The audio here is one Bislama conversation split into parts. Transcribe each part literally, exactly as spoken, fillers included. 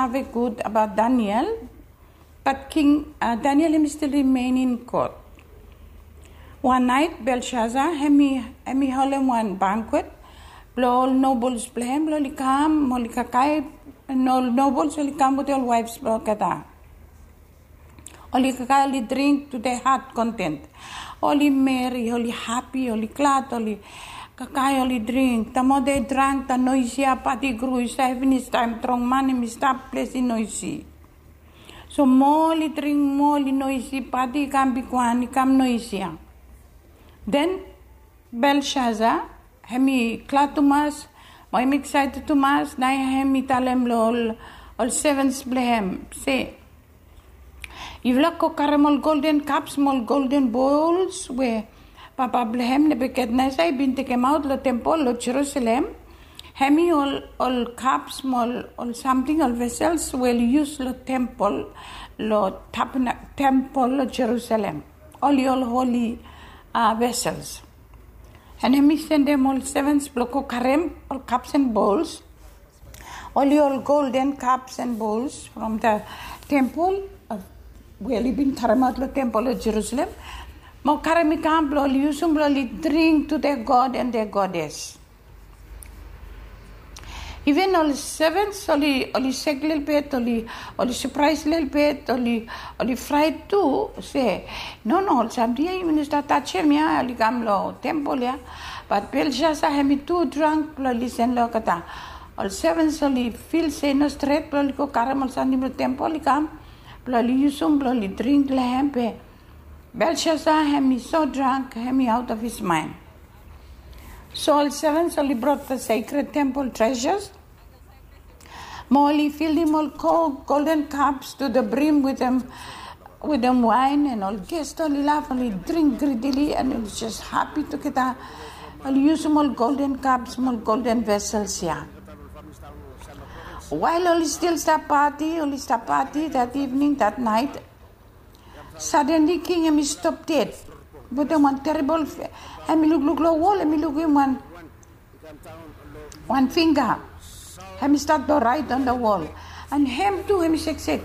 save gud abaot Daniel, bat King Daniel hem i stil rimen in kot. Wan naet Belshaza hem i holem wan bankwet blong ol nobels blong hem blong oli kam, oli kakae, ol nobels oli kam wetem ol waefs blong olgeta. Oli kakae, oli dring to their heart content. Oli meri, oli hapi, oli glad, oli kakae, oli dring. Taem ol dring, taem noes ia, pati i gro i save finis taem strong man hem i stap ples i noesi. So moa oli dring, moa oli noesi, pati i kam bigwan, i kam noesia. Den Belshaza hem i glad tumas, mo hem i eksaeted tumas, naoia hem i talem long ol sevens blong hem se, yufala go karem ol golden kaps mo ol golden bols we papa blong hem Nebukadnesa i bin tekemaot long tempol long Jerusalem. Hem i ol kaps mo ol samting, ol vesels we oli yus long tempol, long tempol long Jerusalem. Oli ol holi vesels. An hem i sendem ol sevens blong go karem ol kaps an bols, oli ol golden kaps an bols from the tempol we oli bin karemaot long tempol long Jerusalem, mo karem i kam blong oli yusum blong oli dring to their god and their goddess. Iven ol sevens oli sek lelebet, oli sapraes lelebet, oli fraet tu se, no no, ol samting ia yumi no stap tajem ia, oli kam long tempol ia. Bat Belshaza hem i tu drang blong lisen long olgeta. Ol sevens oli fil se i no stret blong oli go karem ol samting blong tempol i kam blong oli yusum blong oli dring long hem, be Belshaza hem i so drang hem i aot of his maen. So ol sevens oli brought the sacred temple treasures, mo oli filim ol golden kaps to the brim wetem waen, an ol gest oli laf, oli dring gridili, an oli jes hapi tugeta. Oli yusum ol golden kaps mo ol golden vesels ia. Wael oli stil stap pati, oli stap pati that evening, that night, sadenli king hem i stop ded wetem wan terebol, hem i lukluk long wol, hem i lukim wan fingga hem i stat blong raet on the wall. An hem tu hem i seksek,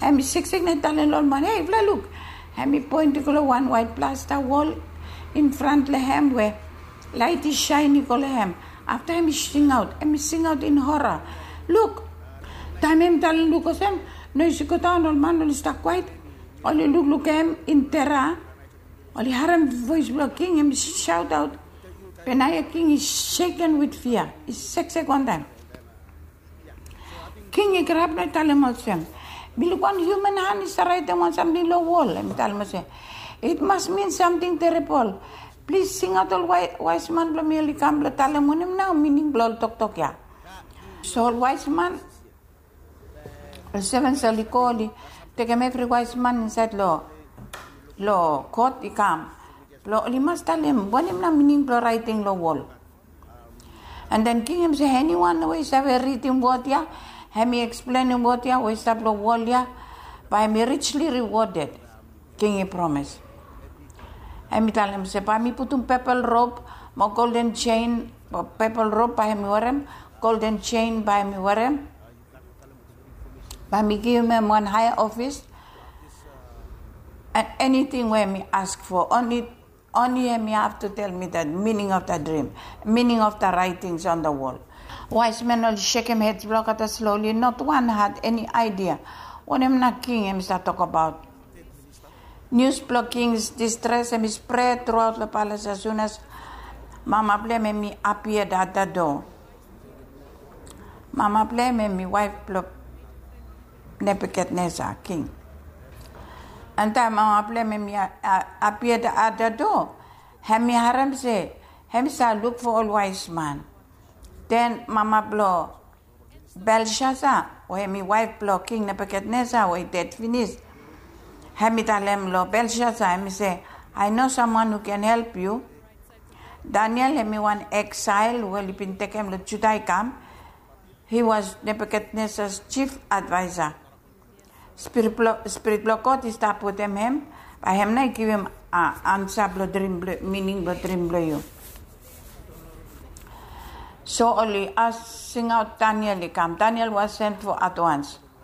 hem i seksek, na i talem long ol man, hei, yufala luk. Hem i poen i go long wan waet plasta wol in front long hem we laet i saen i go long hem. Afta hem i singaot, hem i singaot in hora, luk. Taem hem i talem luk olsem, noes i godaon, ol man oli stap kwaet, oli lukluk hem in tera. Oli harem voes blong king hem i saotaot, be naoia king i seken wit fia, i seksek wantaem. King i grap na i talem olsem, mi luk wan hiuman han i save raetem wan samting long wol, hem i talem olsem, it mas min samting terebol. Plis singaot ol waesman blong mi oli kam blong talem wanem nao mining blong ol toktok ia. So ol waesman, ol sevens oli go, oli tekem evri waesman insaed long kot i kam blong oli mas talem wanem nao mining blong raeting long wol. An den king hem i se, eniwan we i save ridim wod ia, hem i eksplenem wod ia we i stap long wol ia, bae hem i rijli riwoded. King i promes. Hem i talem se bae mi putum pepol rob mo golden jean, pepol rob bae hem i werem, golden jean bae hem i werem. Bae mi givim hem wan haea ofis, an eniting we hem i ask fo, oni hem i have to tell me the meaning of the dream, meaning of the writings on the wall. Waesmen oli sekem hed blong olgeta slowly, not wan had eni aedia wanem nao king hem i stap tokbaot. Nius blong king distres hem i spred truaot long palace as soon as mama blong hem hem i appeared at the door. Mama blong hem hem i waef blong Nebukadnesa, king. An taem mama blong hem hem i appeared at the door, hem i harem se hem i save luk fo ol waesman. Den mama blong Belshaza, we hem i waef blong king Nebukadnesa we i ded finis, hem i talem long Belshaza, hem i se, I know someone who can help you. Daniel hem i wan exile we oli bin tekem long Juda i kam. He was Nebuchadnezzar's chief adviser. Spirit blong God i stap wetem hem, bae hem nao i givim ansa blong drim, mining blong drim blong yu. So oli singaot Daniel i kam. Daniel was sent for at once.